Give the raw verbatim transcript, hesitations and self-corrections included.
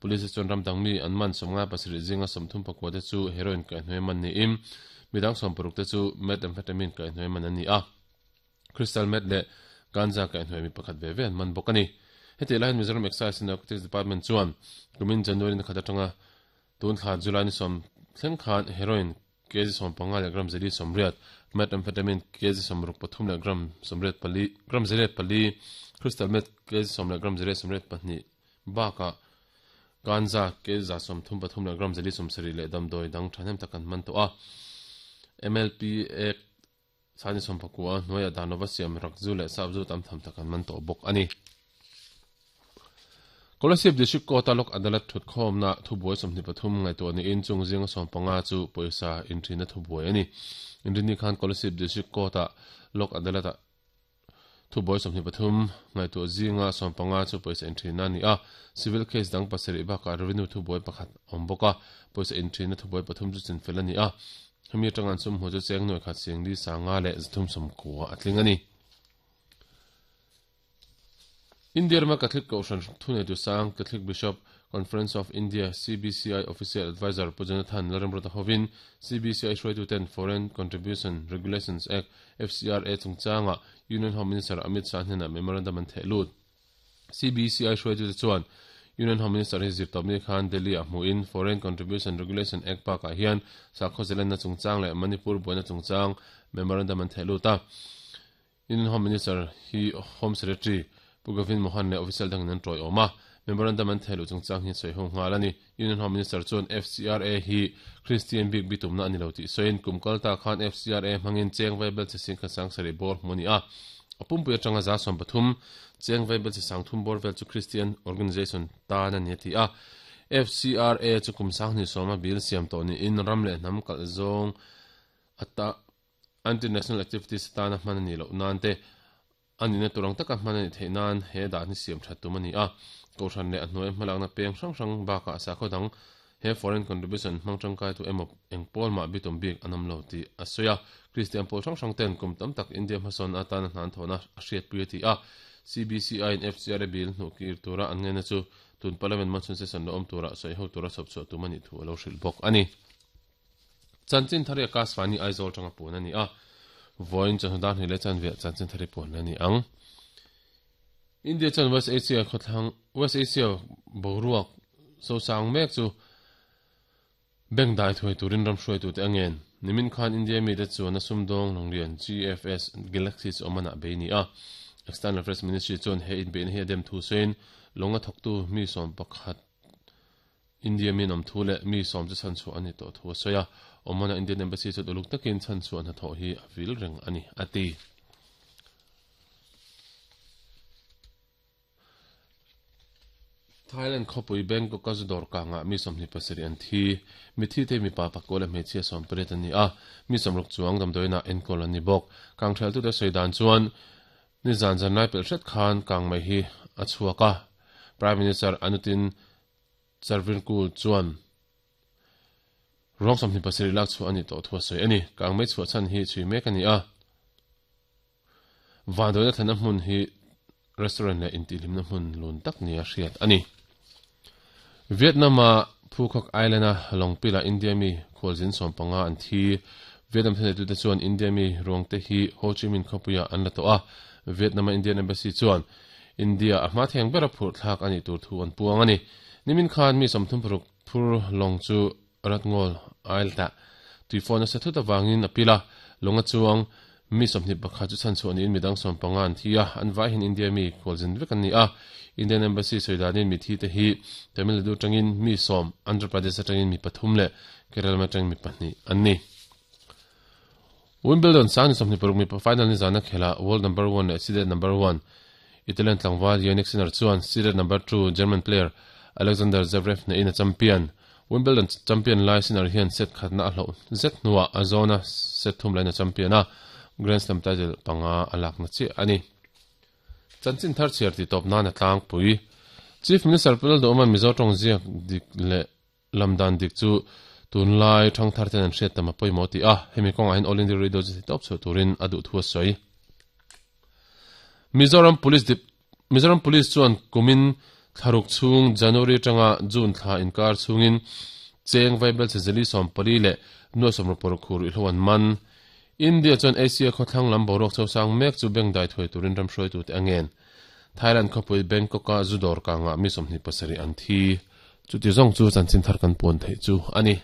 Police chuan ramdang mi an man sawmnga pasarih zinga sawmthum pakua te chu heroin kaihhnawih man niin midang sawm paruk te chu methamphetamine kaihhnawih man an ni a. Crystal meth leh ganja kaihhnawih mi pakhat ve ve an man bawk a ni. Heti laiin Mizoram Excise and Narcotics Department chuan kumin January ni khat atanga tun thla July ni sawm thleng khan heroin kg sawm panga leh gram zeli sawmriat, methamphetamine kg sawmruk pathum leh gram sawmriat pali gram zeliat pali, crystal meth kg sawm leh gram zeliat sawmriat pahnih bakah ganja kg za sawmthum pathum leh gram zeli sawmsarih leh damdawi dang thahnem tak an man tawh a. M L P Act sani sawm pakua hnuaiah danova siam rakzu leh sapzu tam tham tak an man tawh bawk a ni. Kolasib District Court a Lok Adalat thutkhawmna thubuai sawmhnih pathum ngaihtuah niin chung zinga sawm panga chu pawisa inthina thubuai a ni. Inrini khan Kolasib District Court a Lok Adalat a thubuai sawmhnih pathum ngaihtuah zinga sawm panga chu pawisa inthina a ni a. Civil case dang pasarih bakah revenue thubuai pakhat awm bawk a, pawisa inthina thubuai pathum chu chinfel a ni a. Hemi atanga an sum hmu chu cheng nuai khat sing li sanga leh zathum sawmkua a tling a ni. India rama Catholic Kohhran thuneitu sang Catholic Bishop Conference of India C B C I Official Advisor Pu Jonathan Lalremruata hovin C B C I hruaituten Foreign Contribution Regulations Act, F C R A chungchanga Union Home Minister Amit Shah hnenah memorandum an theh lut. C B C I hruaitute chuan Union Home Minister hi zirtawpni khan Delhi ah hmuhin Foreign Contribution Regulation Act bakah hian sakhaw zelenna chungchang leh Manipur buaina chungchang memorandum an theh lut a. Union Home Minister hi Home Secretary Pu Govind Mohan leh official dangin an tawi awm a, memorandum an theh luh chungchang hi sawi ho nghal a ni. Union Home Minister chuan F C R A hi Christian bik bitumna a ni lo tih sawiin kum kal ta khan F C R A hmangin cheng vaibel che sing kha sang sarih bawr hmu a ni a. A pumpui atanga za sawm pathum cheng vaibel che sang thum bawr vel chu Christian Organisation tan a ni a ti a. F C R A chu kum sang hnih sawma bil siam tawh niin ram leh hnam kalh zawng ata anti-national activities atana hman a ni loh nan te anina turang taka hman a ni theih nan he dah ni siam that tum a ni a. Kohhran leh a hnuai hmalakna peng hrang hrang bakah sakhaw dang he foreign contribution hmang tangkai tu emaw engpawl mah bitum bik an awm lo tih a sawi a. Christian pawl hrang hrang ten kum tam tak India hmasawn atana hnan thawhna a hriatpui a ti a. C B C I in F C R A bill hnuh kir tura an ngaina chu tun parliament monsoon session lo awm tura sawi ho tura chhawp chhuah tum a nih thu a lo hrilh bawk a ni. Chanchin thari Akashvani Aizawl tanga puan a ni a. Voin chawhnu hnih leh chanve chanchin thari puan a ni ang. India chuan West Asia khawthlang West Asia boruak sosang mek chu bank dai thuai turin ram hruai tu te angen. Nimin khan India mi te chuan a sumdawng longlian G F S Galaxy chu awmana bei ni a. External Affairs Ministry chuan he in beina hi a dem thu sawiin longa thawktu mi sawm pakhat India mi an awm thu leh mi sawm chu chan chhuah a ni tawh thu a sawi a. Awmana Indian Embassy chu uluk takin chan chhuah hna thawh hi a vil reng a ni a ti. Thailand khawpui Bangkok a zudawr kangah mi sawmhnih pasarih an thi. Mi thi te mi pa pakua leh hmeichhia sawm pariat an ni a. Mi sawmruk chuang damdawiinah enkawl an ni bawk. Kang theltute sawi dan chuan ni zan zan lai pelh hret khan kang mai hi a chhuak a. Prime Minister Anutin Charvinkul chuan ruang sawmhnih pasarih lak chhuah a ni tawh thu a sawi a ni. Kang mai chhuah chhan hi chhui mek a ni a. Vandawiina thlenna hmun hi restaurant leh intihhlimna hmun lun tak ni a hriat a ni. Vietnam a Phuket Island a lawngpila India mi khualzin sawm panga an thi. Vietnam thleneitute chuan India mi ruangte hi Ho Chi Minh khawpuiah an la tawh a. Vietnam a Indian Embassy chuan India a hma theng bera phurh thlak a nih tur thu an puang a ni. Nimin khan mi sawmthum paruk phur lawng chu Ratngol Island ah tuifawn a sa thut awangin a pil a. Lawnga chuang mi sawmhnih pakhat chu chan chhuah niin midang sawm panga an thi a. An vai hian India mi khualzin vek an ni a. Indian Embassy sawi danin mi thi te hi Tamil Nadu tangin mi sawm, Andhra Pradesh atangin mi pathum leh Kerala atangin mi pahnih an ni. Wimbledon sang ni sawmhnih paruk mi final ni zana khela world number one leh seeded number one Italian tlangval Jannik Sinner chuan seeded number two German player Alexander Zverev na in a champion. Wimbledon champion lai Sinner hian set khatna a hloh zet hnuah a zona set thum lain a champion a. Grand Slam title panga a lakna chi a ni. Chanchin thar chhiar ti tawp nan a tlangpui. Chief Minister Pu Lalduhoman Mizo tawng ziak dik leh lamdan dik chu tunlai thang thar ten an hriat tam a pawimawh ti a. Hemi kawngah hian All India Radio chu ti tawp chhuah turin a duh thu a sawi. Mizoram Police Dep Mizoram Police chuan kumin Thlaruk chung January tanga June thla inkar chungin cheng vaibel che zeli som pali le nuai som por khur i hloan man. India chuan Asia khawthlang lam boruak chosang mek chu beng dai thui turin ram hruai tu te angen. Thailand khawpui Bangkok a zudor kanga mi sawmhnih pasarih an thi. Chuti zawng chu chanchin thar kan puan theih chu ani.